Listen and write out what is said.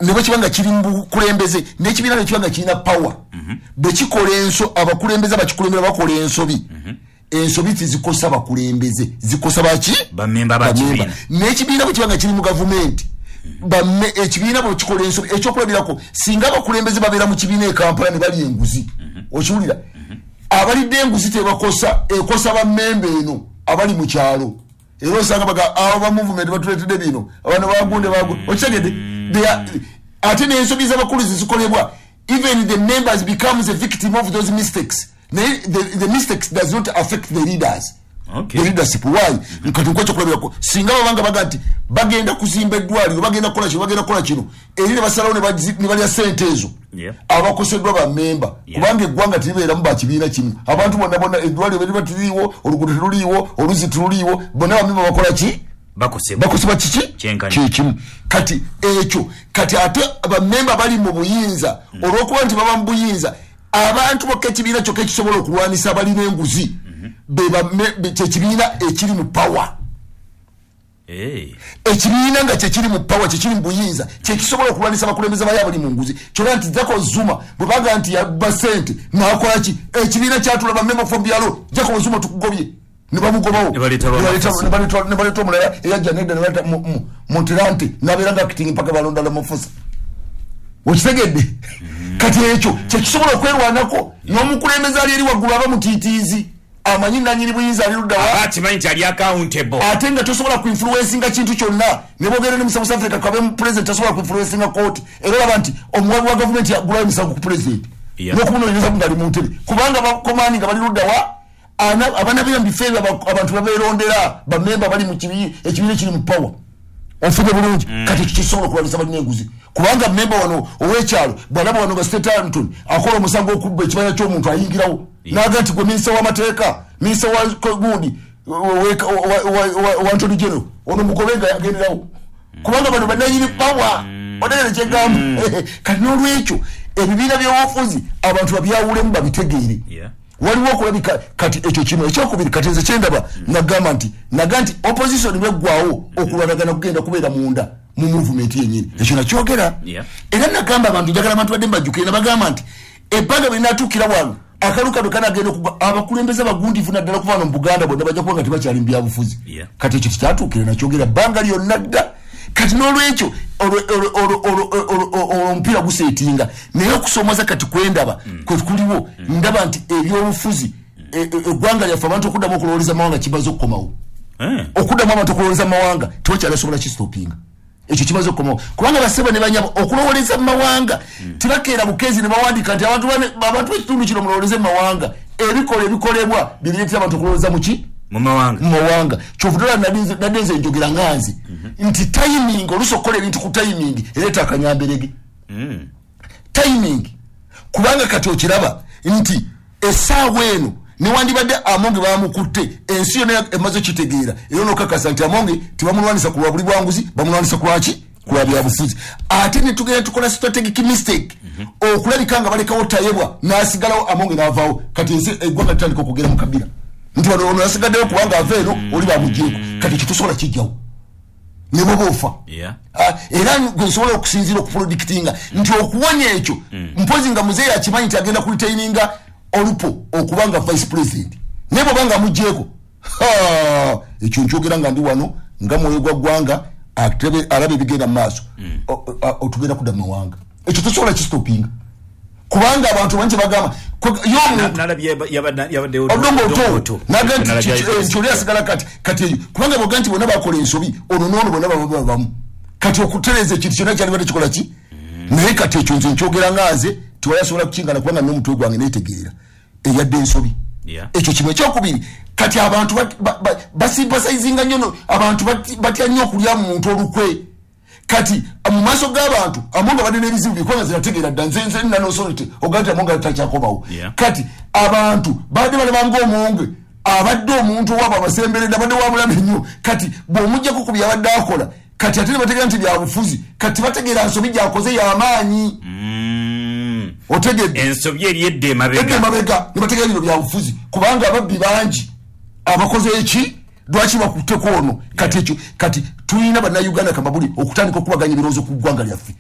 Ne bwe kiba nga kiri mu bukulembeze, n'ekibiina ne kiba nga kirina power, bwe kikola enso, abakulembeze abakikulembera bakola ensobi, ensobi tizikosa bakulembeze, zikosa baki? Bamemba bakibiina. N'ekibiina bwe kiba nga kiri mu gavumenti, ekibiina bwe kikola ensobi, ekyokulabirako, singa abakulembeze babeera mu kibiina e Kampala ne balya enguzi, okiwulira, abalidde enguzi tebakosa, ekosa bammemba eno abali mu kyalo. Era osanga baga abo ba movement batuleetedde bino, abano bagunde bagunde, okitegedde? Ate n'ensobi z'abakulu zikolebwa, even the members becomes a victim of those mistakes, naye the mistakes does not affect the leaders, the leadership. Why? Kati nkuwa ekyokulabirako, singa babanga baga nti bagenda kuzimba eddwaliro, bagenda kukola kino, bagenda kukola kino, eri ne basalawo ne balya sente ezo, abakoseddwa bamemba, kubanga eggwanga teribeeramu bakibiina kimu. Abantu bonna bonna, eddwaliro beriba tiriiwo, oluguudo teruliiwo, oluzzi teruliiwo, bonna bamemba bakola ki? Bakosebwa. Bakosebwa kiki? Kyenkanyi. Kyekimu. Kati ekyo, kati ate bamemba bali mu buyinza, olwokuba nti baba mu buyinza, abantu bokka, ekibiina kyokka ekisobola okulwanisa abalina enguzi kyekibiina ekiri mu power. Ekibiina nga kyekiri mu power, kyekiri mu buyinza, kyekisobola okulwanisa abakulembeze bayo abali mu nguzi. Kyona nti Jacob Zuma bwe baga nti yabba sente nakolaki, ekibiina kyatula, bamemba from byalo, "Jacob Zuma tukugobye," ne bamugobawo. Ne baleeta Ramaphosa. Ne baleeta omulala eyajja nedda, ne baleeta Motlanthe, nabeera nga acting mpaka balonda Ramaphosa. Okitegedde? Kati ekyo kyekisobola okwerwanako n'omukulembeze ali eri waggulu aba mutiitiizi, amanyi nanyini buyinza ali luddawa. Aba akimanyi nti ali accountable. Ate nga tosobola kuinfluencinga kintu kyonna, ne bogenda ne mu South Africa, kabe mu president tasobola kuinfluencinga kooti. Era olaba nti omuwabi wa gavumenti yagulayo emisango ku president n'okumunoonyereza nga ali mu ntebe, kubanga bakomani nga bali luddawa. Abanabeera mu bifo ebyo, abantu babeerondera, bamemba bali mu ekibiina ekiri mu power. Onfudde bulungi? Kati ekyo kisobola okulwanyisa balina enguzi, kubanga memba wano ow'ekyalo bwalaba wano nga State Antony akola omusango okubba ekibanja ky'omuntu, ayingirawo naga nti, "Gwe minisita w'amateeka, minisita wa gundi, wa Attorney General, ono mugobe," nga agenderawo, kubanga bano bananyini power. Otegere kyegamba? Kati n'olwekyo ebibiina by'obufuzi abantu babyawulemu, babitegeere. Waliwo okulabika. Kati ekyo kimu. Ekyokubiri, kati nze kyendaba, nagamba nti naga nti opposition bweggwawo, okulwanagana kugenda kubeera munda mu movement yenyini. Ekyo nakyogera. Era nagamba abantu, njagala abantu badde mbajjukire, nabagamba nti ebbanga bwe linatuukira wano, akalu kano kanagenda okugwa, abakulembeze abagundifu naddala kuva wano mu Buganda bonna bajja kuba nga tebakyali mu byabufuzi. Kati ekyo tekyatuukire, nakyogera bbanga lyonna dda. Kati n'olwekyo olwo omupiira guseetinga, naye okusoomoza kati kwendaba kwe kuliwo, ndaba nti ebyobufuzi, eggwanga lyaffe, abantu okuddamu okulowoleza mawanga kimaze okukomawo. Okuddamu abantu okulowoleza mawanga tewakyali asobola kistopinga. Ekyo kimaze okukomawo, kubanga basebo ne banyabo, okulowoleza mu mawanga tebakeera bukeezi ne bawandiika nti abantu b'ekitundu kino mulowoleze mu mawanga. Ebikola ebikolebwa bireetera abantu okulowoleza muki? Mu mawanga. Mu mawanga. Kyovudala nadde nze njogera nga nze nti timing, oluusi okukola ebintu ku timing ereeta akanyamberege. Timing, kubanga kati okiraba nti essaawa eno newandibadde Amonge bamukutte, ensi yonna emaze okitegeera, era nokakasa nti Amonge tebamulwanisa ku lwa buli bwanguzi, bamulwanisa ku lwaki? Ku lwa byabufuzi. Ate netugenda tukola strategic mistake okulabika nga balekawo Tayebwa n'asigalawo, Amonge n'avaawo. Kati ensi, eggwanga litandika okugera mu kabira nti wano ono yasigaddeyo kubanga ava eno, oli bamugyeko. Kati ekyo tosobola kijjawo ne bwoba ofa. Ah, era gwe nsobola okusinziira okupredictinga nti okuwonya ekyo, mpozi nga muzeeyi akimanyi nti agenda kuretaininga Alupo okuba nga vice president, naye bwoba nga mugyeko, ekyo nkyogera nga ndi wano nga mwoyo gwa ggwanga alaba ebigenda mu maaso. Otugenda kudda mu mawanga, ekyo tosobola kistopinga, kubanga abantu bangi bagamba y'omuntu Nalabye yabaddewo Odongo Odongo Otto Otto. naga nti Nalabye nti oli asigala. Kati eyo, kubanga boga nti bonna bakola ensobi, ono noono bonna baba babamu, kati okutereeza ekintu kyonna kyalibadde kikola ki? Naye kati ekyo nze nkyogera nga nze, tewali asobola kukingana, kubanga n'omutwe gwange netegeera eyadde ensobi. Ekyo kimu. Ekyokubiri, kati abantu basympathizinga nnyo abantu batya nnyo okulya mu muntu olukwe. Kati mu maaso g'abantu Amonga badde n'ebizibu bikubanga zinategeera dda, nze nina nosolite ogaa nti Amonga takyakomawo. Kati abantu badde balabanga Omonge abadde omuntu owaabwe abasemberedde, abadde wabulabe nnyo. Kati bw'omugjako ku byabadde akola, kati ate ne bategeera nti byabufuzi, kati bategeera nsobi gyakoze y'amaanyi. Otegedde? Ensobi eri edda edda emabega. Emabega ne bategeera bino byabufuzi, kubanga ababbi bangi abakoze eki, lwaki bakutteko ono? Kati ekyo, kati tulina bannayuganda kamabuli okutandika okubaganya ebirowoozo ku ggwanga lyaffe.